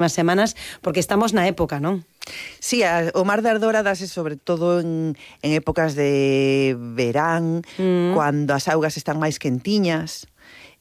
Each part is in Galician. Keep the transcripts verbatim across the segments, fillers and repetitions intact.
unhas semanas, porque estamos na época, non? Sí, a, o mar de Ardora dase sobre todo en, en épocas de verán, mm. cando as augas están máis quentiñas.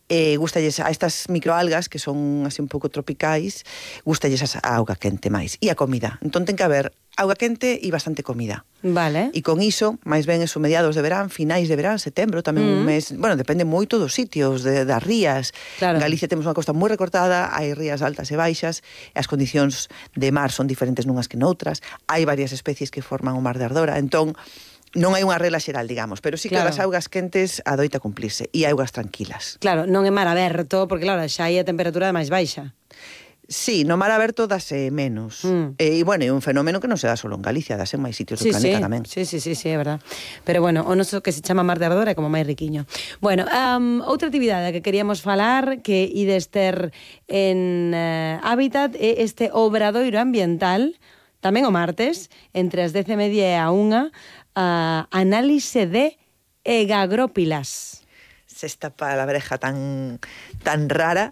Eh, gustalles a estas microalgas que son así un pouco tropicais, gustalles a auga quente máis e a comida. Entón ten que haber auga quente e bastante comida. Vale. E con iso, máis ben eso, mediados de verán, finais de verán, setembro, tamén mm. un mes, bueno, depende moito dos sitios, de, das rías. Claro. En Galicia temos unha costa moi recortada, hai rías altas e baixas, e as condicións de mar son diferentes nunhas que noutras, hai varias especies que forman o mar de Ardora, entón non hai unha regla xeral, digamos, pero sí que claro. as augas quentes adoita cumplirse e augas tranquilas. Claro, non é mar aberto, porque claro, xa hai a temperatura máis baixa. Sí, no mar aberto dase menos. Mm. E, bueno, é un fenómeno que non se dá só en Galicia, dase en máis sitios sí, do planeta sí. tamén. Sí, sí, sí, sí, é verdad. Pero bueno, o noso que se chama mar de Ardora é como máis riquiño. Bueno, um, outra actividade que queríamos falar, que ides ter en uh, Hábitat, é este obradoiro ambiental, tamén o martes, entre as dez e media e a unha, Uh, análise de egagrópilas. Esta palabreja tan, tan rara,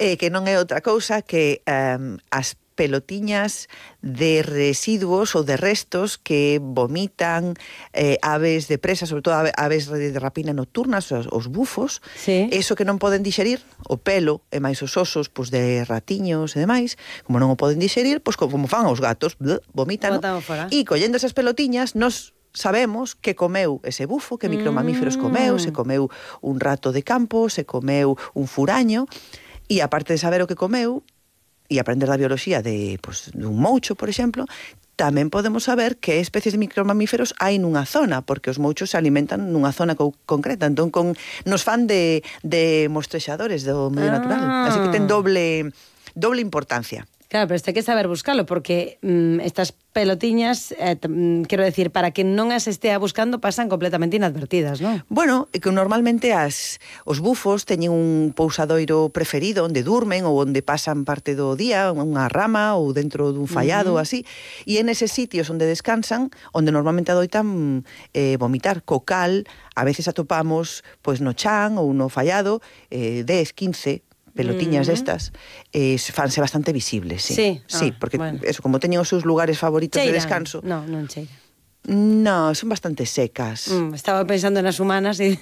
eh, que non é outra cousa que um, as pelotiñas de residuos ou de restos que vomitan eh, aves de presa, sobre todo aves de rapina nocturnas, os, os bufos, sí. eso que non poden dixerir, o pelo e máis os osos pois de ratiños e demais, como non o poden dixerir, pois como fan os gatos, bleh, vomitan, e collendo esas pelotiñas nos sabemos que comeu ese bufo, que micromamíferos comeu, se comeu un rato de campo, se comeu un furaño, e aparte de saber o que comeu, e aprender da bioloxía de, pues, dun moucho, por exemplo, tamén podemos saber que especies de micromamíferos hai nunha zona, porque os mouchos se alimentan nunha zona co concreta, entón con, nos fan de, de mostrexadores do medio ah. natural, así que ten doble, doble importancia. Claro, pero este hai que saber buscalo, porque mm, estas pelotiñas, eh, mm, quero decir, para que non as estea buscando, pasan completamente inadvertidas, non? Bueno, é que normalmente as, os bufos teñen un pousadoiro preferido onde durmen ou onde pasan parte do día, unha rama ou dentro dun fallado, uh -huh. así, e en eses sitios onde descansan, onde normalmente adoitan eh, vomitar. Co cal, a veces atopamos pois no chan ou no fallado eh, dez, quince pelotiñas mm. destas, eh, fanse bastante visibles, sí. Sí, sí ah, porque bueno. eso, como teñen os seus lugares favoritos Cheiran. de descanso. No, non cheira. No, son bastante secas. Mm, estaba pensando nas humanas e...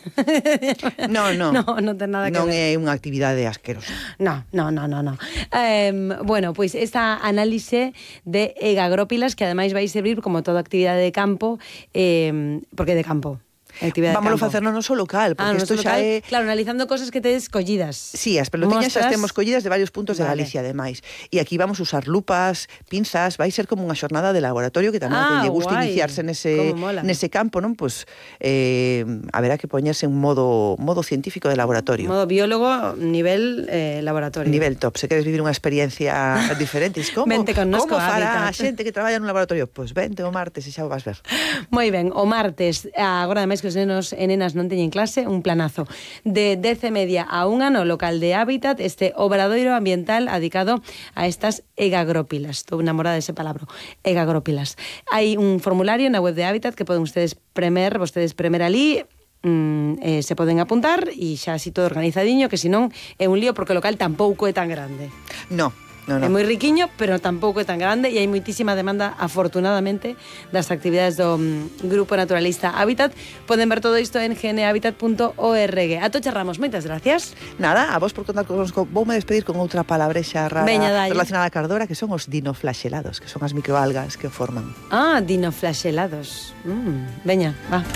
no, no. No, non ten nada que non ver. Non é unha actividade asquerosa. No, no, no, no, no. Eh, bueno, pois pues esta análise de egagrópilas, que ademais vai servir como toda actividade de campo, eh, porque de campo. Vámoslo facer no noso local, porque isto ah, xa é... Claro, analizando cosas que tedes collidas. Sí, as pelotiñas xa temos collidas de varios puntos vale. de Galicia, ademais. E aquí vamos a usar lupas, pinzas, vai ser como unha xornada de laboratorio que tamén ah, que lle gusta guai. iniciarse nese, nese campo, non? Pois pues, eh, haberá que poñerse en modo, modo científico de laboratorio. Modo biólogo, nivel eh, laboratorio. Nivel top. Se queres vivir unha experiencia diferente, como, como fará a xente que traballa nun laboratorio? Pois pues vente o martes e xa o vas ver. Moi ben, o martes, agora ademais que os nenos e nenas non teñen clase, un planazo de dez e media a unha no local de Hábitat, este obradoiro ambiental dedicado a estas egagrópilas. Estou enamorada dese palabra, egagrópilas. Hai un formulario na web de Hábitat que poden ustedes premer, vostedes premer ali, mm, eh, se poden apuntar e xa así todo organizadiño, que senón é un lío porque o local tampouco é tan grande. No. No, no. É moi riquiño, pero tampouco é tan grande e hai moitísima demanda, afortunadamente, das actividades do um, Grupo Naturalista Hábitat. Poden ver todo isto en g n habitat punto org. Atocha Ramos, moitas gracias. Nada, a vos por contar connosco. Voume despedir con outra palabrexa rara Veña, relacionada a cardora, que son os dinoflaxelados, que son as microalgas que o forman. Ah, dinoflaxelados. Mm, veña, va.